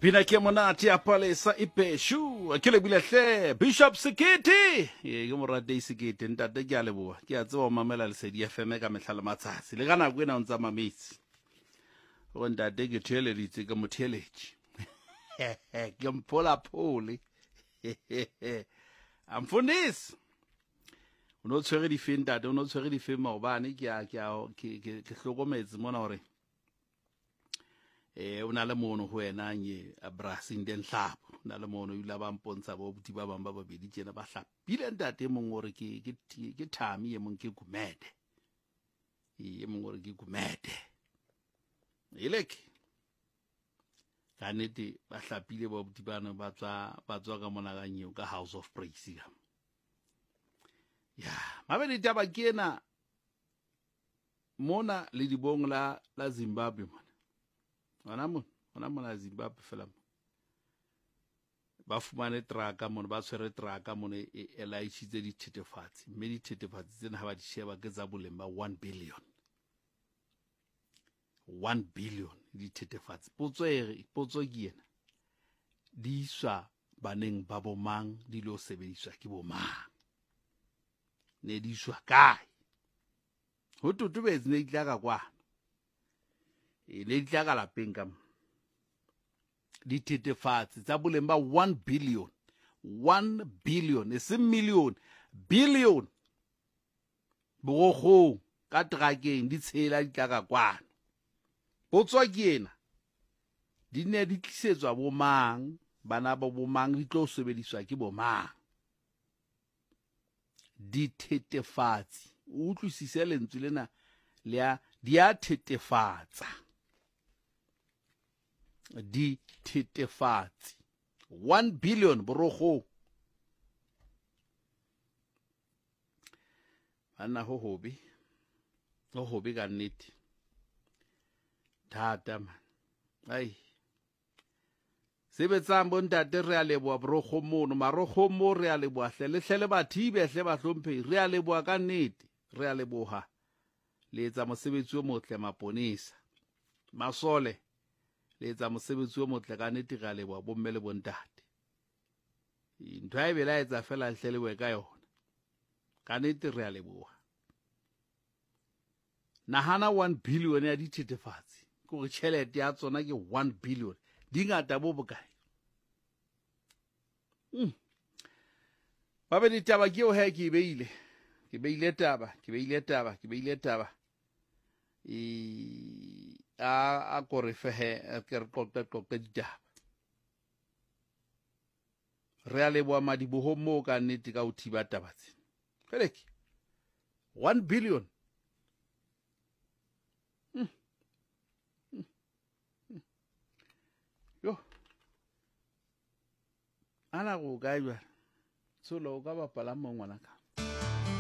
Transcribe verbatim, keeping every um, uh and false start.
Pina ke monate ya Palesa Ipeshu. Ke lebile hle Bishop Sekete. Ee, ke moratei Sekete ntate, ke a leboha. Ke a tseba o mamela Lesedi F M ka mehla le matsatsi. Le ka nako ena o ntsa mametse. Hore ntate ke theeleditse, ke mo theeletše. Ke mphola phole. Amfundisi. O no tshwere difeng ntate, o no tshwere difeng maobane, ke a ke a ke ke hlokometse mona hore eh o na le mono ho wena nye Brasing den hlapo o na le mono ile ba mpontsha bo buti ba bang ba babedi tjena ba hlapile ntate mong hore ke ke ke Thami, e mong ke Gumede, e mong hore ke Gumede. Eleke ka nnete ba hlapile bo buti bana ba tswa ba tswa ka mona ka nyeo ka House of Praise ka. Ya mabedi taba ke ena mona le dibong la la Zimbabwe mona. Hona mona, hona mona Zimbabwe fela mo. Ba fumane traka mona, ba tshwere traka mona e e laitshitse dithethefatsi, mme dithethefatsi tsena ha ba di sheba ke tsa boleng ba one billion. one billion dithethefatsi. Potso e potso ke ena. Di iswa baneng ba bomang, di lo sebediswa ke bomang? Ne di iswa kae? Ho totobetse ne di tla ka kwana. E ne di tla ka lapeng ka mo. Dithethefatsi tsa boleng ba one billion. one billion, e seng million, billion. Borokgong ka trakeng di tshela di tla ka kwano. Potso ke ena. Di ne di tlisetswa bomang, bana ba bomang, di tlo sebediswa ke bomang? Dithethefatsi. O utlwisise lentswe lena le a di a thethefatsa. Dithethefatsi. one billion borokgong. Banna ho hobe. Ho hobe ka nnete. Thata man. Ai. Sebetsang bontate, re a leboha borokgong mono, marokgong mo re a leboha hle, le hle le bathibe hle bahlomphehi, re a leboha ka nnete, re a leboha. Le etsa mosebetsi o motle maponesa. Masole, le etsa mosebetsi o motle ka nnete, re a leboha bomme le bontate. Ntho ha e belaetsa fela hle le boe ka yona. Ka nnete re a leboha. Nahana one billion ya dithethefatsi. Ke hore tjhelete ya tsona ke one billion. Di ngata bo bokae? Mm. Babedi taba ke eo he ke e beile. Ke beile taba, ke beile taba, ke beile taba. E a a kore fehe ke re qoqe qoqe ditaba. Re a leboha madiboho moo ka nnete ka ho thiba taba tsena. Feleke. one billion. Mm. Mm. Mm. Yo. Ana go kae jwale? Tsholo o ka bapala mo ngwana ka.